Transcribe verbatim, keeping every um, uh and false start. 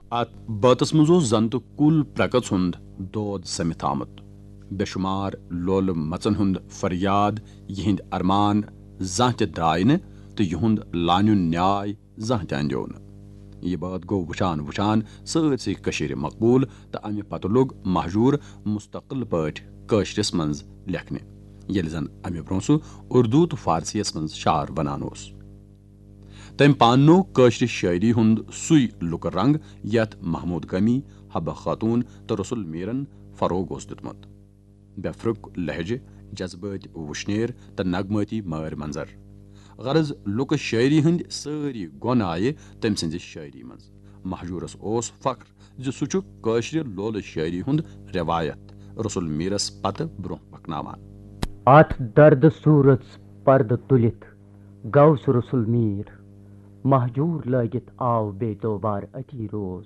اتھ بٲتس منٛز اوس زن تہٕ کُل پرکٕژ ہُنٛد دود سٔمِتھ آمُت۔ بے شمار لولہٕ مژن ہُنٛد فریاد، یِہنٛدۍ ارمان زانٛہہ تہِ درٛاے نہٕ تہٕ یِہُنٛد لانیُن نیاے زانٛہہ تہِ اندیو نہٕ۔ یہِ بٲتھ گوٚو وُچھان وُچھان سٲرسٕے کٔشیٖرِ مقبوٗل تہٕ امہِ پتہٕ لوٚگ مہجوٗر مستقل پٲٹھۍ کٲشرِس منٛز لیکھنہِ، ییٚلہِ زن امہِ برٛونٛہہ سُہ اردو تہٕ فارسیَس منٛز شعر ونان اوس۔ تٔمۍ پاننوو کٲشرِ شٲعری ہُنٛد سُے لُکہٕ رنٛگ یتھ محمود گٲمی، حبہ خاتون تہٕ رسول میرن فروغ اوس دیُتمُت۔ بے پھرُک لہجہٕ، جذبٲتۍ وُشنیر تہٕ نغمٲتی مٲرۍ منظر۔ غرض، لُکہٕ شٲعری ہٕنٛدۍ سٲری گۄن آیہِ تٔمۍ سٕنٛزِ شٲعری منٛز۔ مہجوٗرس اوس فخر زِ سُہ چھُ کٲشرِ لولہٕ شٲعری ہُنٛد رٮ۪وایت رسول میرس پتہٕ برٛونٛہہ پکناوان۔ اتھ دردٕ صوٗرژ پردٕ تُلِتھ گوٚو سُہ رسول میٖر۔ مہجوٗر لٲگِتھ آو بے دوبار أتی روز۔